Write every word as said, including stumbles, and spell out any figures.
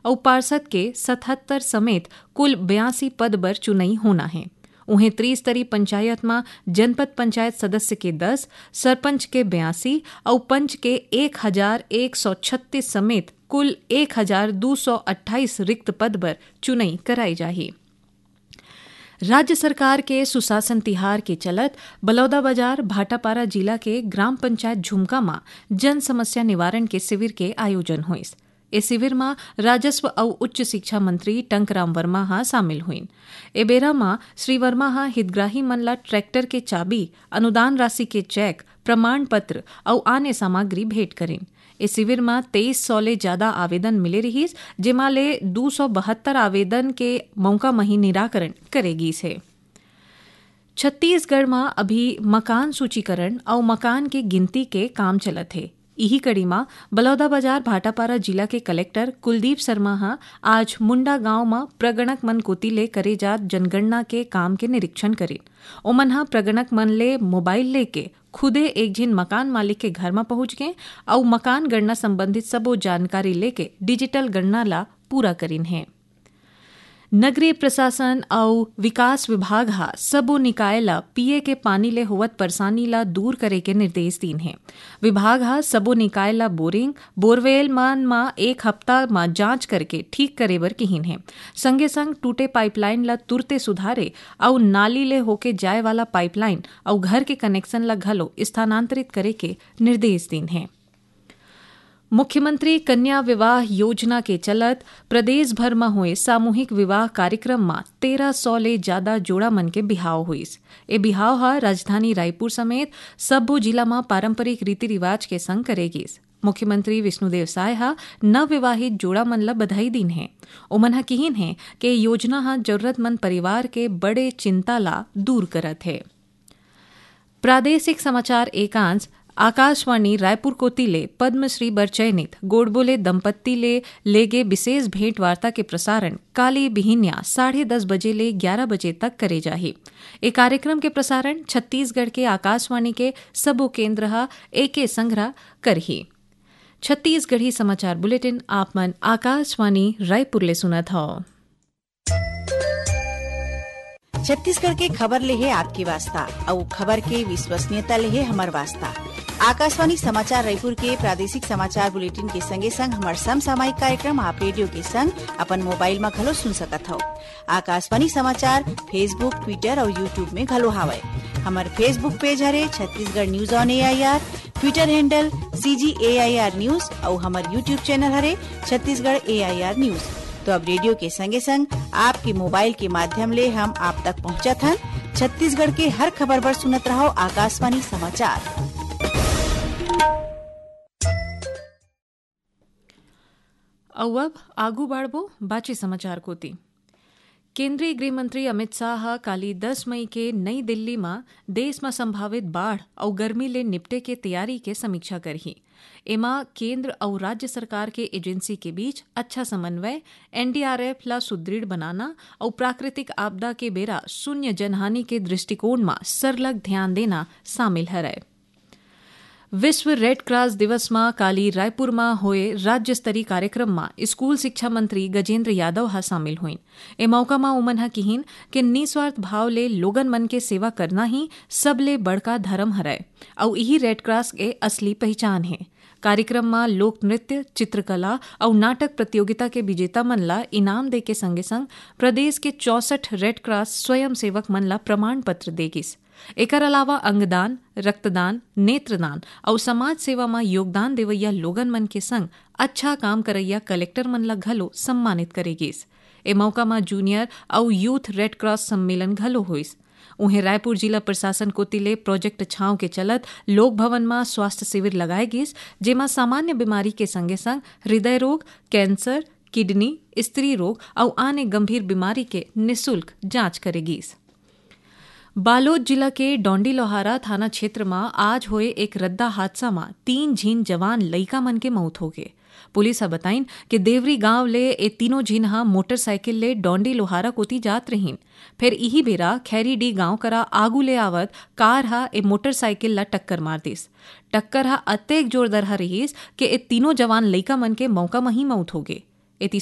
अउ पार्षद के सतहत्तर समेत कुल बयासी पद बर चुनई होना हे। उहें, त्रिस्तरीय पंचायत म जनपद पंचायत सदस्य के दस, सरपंच के बयासी अउ पंच के एक हजार एक सौ छत्तीस समेत कुल एक हजार दू सौ अट्ठाईस रिक्त पद बर चुनई कराई जाही। राज्य सरकार के सुशासन तिहार के चलत बलौदाबाजार भाटापारा जिला के ग्राम पंचायत झुमका म जन समस्या निवारण के शिविर के आयोजन होइस। ए शिविर म राजस्व अउ उच्च शिक्षा मंत्री टंकराम वर्मा ह शामिल होइन। ए बेरा म श्री वर्मा ह हितग्राही मन ल ट्रैक्टर के चाबी, अनुदान राशि के चेक, प्रमाण पत्र अउ आने सामग्री भेंट करिन। ए शिविर म तेईस सौ ले जादा आवेदन मिले रिहिस, जेमा ले दू सौ बहत्तर आवेदन के मौका म ही निराकरण करे गीस हे। छत्तीसगढ़ म अभी मकान सूचीकरण अउ मकान के गिनती के काम चलत हे। इही कड़ी म बलौदाबाजार भाटापारा जिला के कलेक्टर कुलदीप शर्मा ह आज मुंडा गांव म प्रगणक मन कोति ले करे जात जनगणना के काम के निरीक्षण करिन। ओमन ह प्रगणक मन ले मोबाइल लेके खुदे एक झिन मकान मालिक के घर म पहुंच गें अउ मकान गणना संबंधित सबो जानकारी लेके डिजिटल गणना ला पूरा करिन हे। नगरीय प्रशासन अउ विकास विभाग ह सबो निकाय ल पीए के पानी ले होवत परेशानी ल दूर करे के निर्देश दीन हे। विभाग ह सबो निकाय ल बोरिंग, बोरवेल मन म एक हफ्ता म जांच करके ठीक करे बर किहिन हे। संगे संग टूटे पाइपलाइन ल तुरते सुधारे अउ नाली ले होके जाए वाला पाइपलाइन अउ घर के कनेक्शन ल घलो स्थानांतरित करे के निर्देश दीन हे। मुख्यमंत्री कन्या विवाह योजना के चलत प्रदेश भर म होए सामूहिक विवाह कार्यक्रम म तेरह सौ ले जादा जोड़ा मन के बिहाव होइस। ए बिहाव ह राजधानी रायपुर समेत सब्बो जिला म पारंपरिक रीति रिवाज के संग करे गिस। मुख्यमंत्री विष्णुदेव साय ह नवविवाहित जोड़ा मन ल बधाई दीन हे। ओमन ह किहिन हे के योजना ह जरूरतमंद परिवार के बड़े चिंता ला दूर करत हे। प्रादेशिक समाचार एकांश आकाशवाणी रायपुर कोति ले पद्मश्री बर चयनित गोडबोले दंपत्ति ले लेगे विशेष भेंट वार्ता के प्रसारण काली बिहिनिया साढ़े दस बजे ले ग्यारह बजे तक करे जाही। ए कार्यक्रम के प्रसारण छत्तीसगढ़ के आकाशवाणी के सबो केंद्र ह एके संघरा करही। छत्तीसगढ़ी समाचार बुलेटिन आप मन आकाशवाणी रायपुर ले सुनत हव। छत्तीसगढ़ के खबर ले हे आपके वास्ता, अउ खबर के विश्वसनीयता ले हे हमर वास्ता। आकाशवाणी समाचार रायपुर के प्रादेशिक समाचार बुलेटिन के संगे संग हमर समसामयिक कार्यक्रम आप रेडियो के संग अपन मोबाइल म घलो सुन सकत हव। आकाशवाणी समाचार Facebook, Twitter अउ YouTube में घलो हावय। हमर Facebook पेज हरे Chhattisgarh news on AIR, Twitter handle CG AIR news अउ हमर YouTube चैनल हरे छत्तीसगढ़ एआईआर न्यूज। तो अब रेडियो के संगे संग आपके मोबाइल के माध्यम ले हम आप तक पहुंचत हन। छत्तीसगढ़ के हर खबर बर सुनत रहव आकाशवाणी समाचार। अउ अब आगू बाढ़बो बाचे समाचार कोति। केंद्रीय गृह मंत्री अमित शाह ह काली दस मई के नई दिल्ली म देश म संभावित बाढ़ अउ गर्मी ले निपटे के तैयारी के समीक्षा करही। एमा केंद्र अउ राज्य सरकार के एजेंसी के बीच अच्छा समन्वय, एनडीआरएफ ला सुदृढ़ बनाना अउ प्राकृतिक आपदा के बेरा शून्य जनहानि के दृष्टिकोण म सरलग ध्यान देना शामिल हरय। विश्व रेड क्रॉस दिवस म काली रायपुर म होए राज्य स्तरीय कार्यक्रम म स्कूल शिक्षा मंत्री गजेंद्र यादव ह शामिल होइन। ए मौका म ओमन ह किहिन के निस्वार्थ भाव ले लोगन मन के सेवा करना ही सबले बड़का धर्म हरय अउ इही रेड क्रॉस के असली पहिचान हे। कार्यक्रम म लोक नृत्य, चित्रकला अउ नाटक प्रतियोगिता के विजेता मन ल इनाम देके संगे संग प्रदेश के चौसठ रेड क्रॉस स्वयंसेवक मन ल प्रमाण पत्र दे गिस। एकर अलावा अंगदान, रक्तदान, नेत्रदान अउ समाज सेवा म योगदान देवइया लोगन मन के संग अच्छा काम करइया कलेक्टर मन ल घलो सम्मानित करे गिस। ए मौका म जूनियर अउ यूथ रेड क्रॉस सम्मेलन घलो होइस। उहें, रायपुर जिला प्रशासन कोति ले प्रोजेक्ट छांव के चलत लोक भवन म स्वास्थ्य शिविर लगाए गिस, जेमा सामान्य बीमारी के संगे संग हृदय रोग, कैंसर, किडनी, स्त्री रोग अउ आने गंभीर बीमारी के निशुल्क जांच करे गिस। बालोद जिला के डोंडी लोहारा थाना क्षेत्र म आज होए एक रद्दा हादसा म तीन झिन जवान लइका मन के मउत होगे। पुलिस ह बताइन के देवरी गांव ले ए तीनों झिन ह मोटरसाइकिल ले डोंडी लोहारा कोति जात रहिन। फेर इही बेरा खैरीडीह गांव करा आगू ले आवत कार ह ए मोटरसाइकिल ल टक्कर मार दिस। टक्कर ह अतेक जोरदार ह रिहिस के ए तीनों जवान लइका मन के मउका म ही मउत होगे।